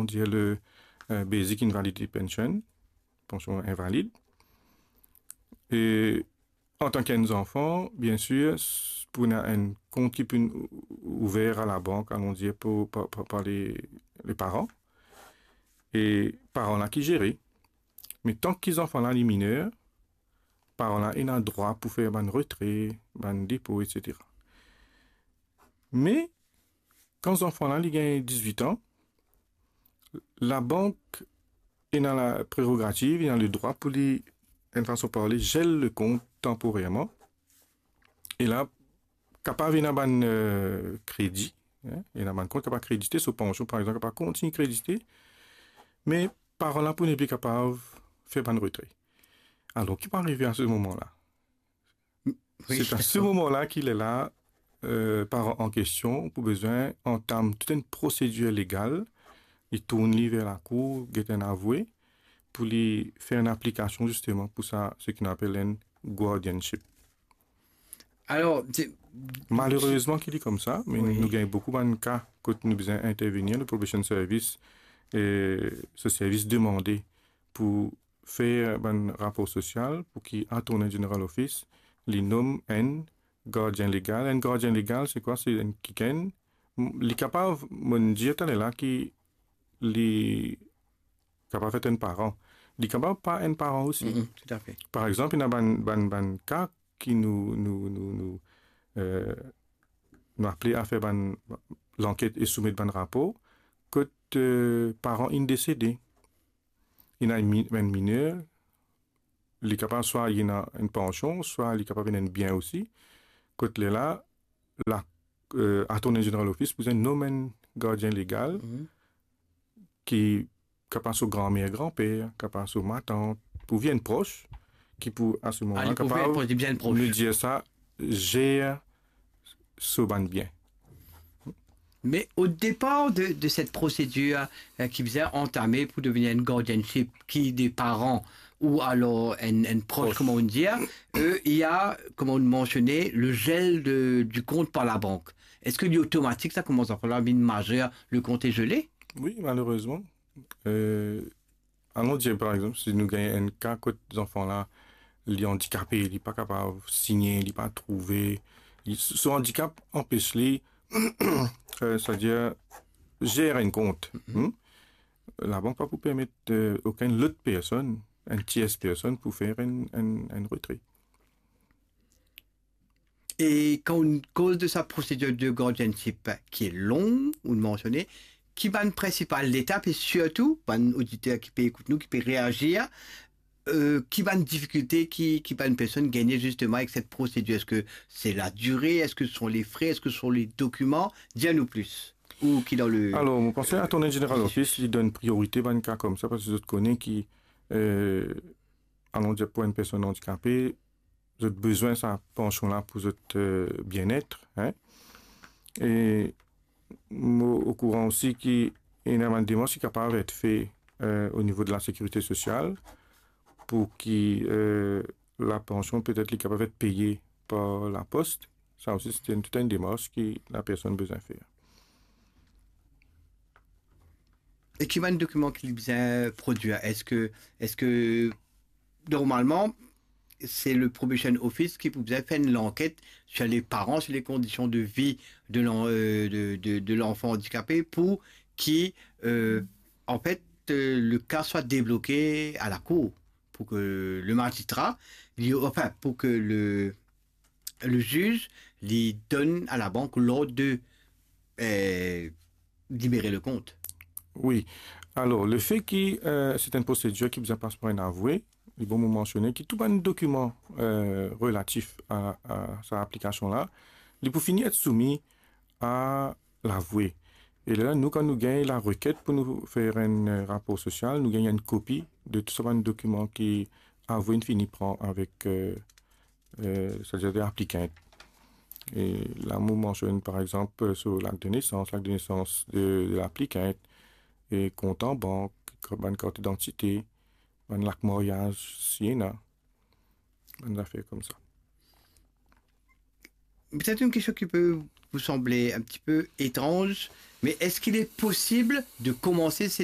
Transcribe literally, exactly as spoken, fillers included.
dir le, euh, basic invalidity pension, pansion invalid. E antan ki enn zanfan, bien sir, s-, pou ena enn kont ki pou ou-, ouver a labank, alon dir, pou, par, par, par le, le paran. E paran la ki zere. Me tan ki zanfan la li miner, paran la ena drwa pou fer bann retre, bann depo, et cetera. Me kan zanfan la li gagn dizwit an, labank ena la prerogativ, ena le drwa pou li, enn fason parle, zel le kont tanporerman. E la, kapav ena bann, euh, kredi, hein, ena bann kont kapav kredite, so pansion, par exanp, kapav kontign kredite, me paran la pou nepli kapav fer bann retre. Alor, ki pou arive a se moman la? Wi. Se a se moman la ki lerla, euh, paran an kestion pou bizin antam tou enn prosedir legal, li tourn li ver lakour, get enn avoue, pou li fer enn aplikasion zisteman pou sa, seki nou apel enn guardianship. Alor, se Malerezman ki li koumsa, me Wi. nou gagn boukou bann ka kot nou bizin intervenir, nou probation service, e so servis demande pou fer bann rapor sosial pou ki Attorney General Office li nom enn gardien legal. Enn gardien legal, se kwa? Se enn kikenn, m-, li kapav, mo dir taler la ki li kapav et enn paran. Li kapav pa enn paran osi. Mhm, toutafe. Par exanp, ena bann, bann, bann ka ki nou, nou, nou, nou, euh, nou aple a fer bann lanket e soumet bann rapor, kot, euh, paran inn desede. Ena enn mi-, enn miner, li kapav swa li ena enn pansion, swa li kapav ena enn bien osi. Kot lerla, la, euh, Attorney General Office pou bizin nom enn gardien legal Mhm. ki kapav so granmer, granper, kapav so matant, pou vinn pros, ki pou, a se moman la, Ali pou kapav vinn pros, bien pros. nou dir sa, zer so bann bien. Me o depar de, de set prosedir, euh, ki bizin antame pou devenir enn guardianship, ki de paran ou alor enn, enn pros, Pros. kouma nou dir, euh, il y a, kouma nou mansione, le gel de, du compte par la banque. Eski li otomatik sa, kouma sa, la vinn mazer, le compte est gelé? Wi, malerezman. Euh, alon dir, par exanp, si nou gagn enn ka kot zanfan la, li andikape, li pa kapav signe, li pa trouve, li, so andikap anpes li, euh, setadir, zer enn kont. Mhm. Hmm? Labank pa pou permet, euh, okenn lot personn, enn tiers personn pou fer enn, enn, enn retre. E kan nou koz de sa prosedir de guardianship ki lon, ou mansione, ki bann prinsipal letap e sirtou, bann oditer ki pe ekout nou, ki pe reazir, euh, ki bann difikilte ki, ki bann personn gagne zisteman avek set prosedir? Eski se la dire? Eski se le fre? Eski se le dokiman? Dir nou plis. Ou ki dan le Alor, mo panse Attorney General Office, li donn priorite bann ka koumsa, parski zot kone ki, euh, alon dir pou enn personn andikape, zot bizin sa pansion la pou zot, euh, bienet, hein. E mo okouran osi ki ena bann demars ki kapav et fe, euh, o nivo de la sekirite sosial pou ki, euh, la pansion petet li kapav et peye par lapos. Sa osi, se enn, tou enn demars ki la personn bizin fer. E ki bann dokiman ki li bizin prodwir? Eski, eski normalman, se le Probation Office ki pou bizin fer enn lanket sur les parents, sur les conditions de vie de l'en-, euh, de, de, de l'enfant handicapé pou ki, euh, an fet, euh, le ka swa debloke a lakour, pou ki le mazistra, li, anfin, pou ki le, le ziz li donn a labank lord de, euh, libere le kont. Wi. Alor, lefe ki, euh, se enn prosedir ki bizin pas par enn avoue, li bon mo mansione ki tou bann dokiman, euh, relatif a, a sa aplikasion la, li pou fini et soumi a lavoue. E lerla, nou, kan nou gagn lareket pou nou fer enn, euh, rapor sosial, nou gagn enn kopi de tou sa bann dokiman ki avoue inn fini pran avek, euh, euh, setadir de aplikant. E la, mo mansionn, par exanp, euh, so lakt de nesans, lakt de nesans de, de laplikant, e kont an bank, bann kart idantite, bann lakt maryaz, si ena, bann zafer koumsa. Peut-être une question qui peut vous sembler un petit peu étrange, mais est-ce qu'il est possible de commencer ces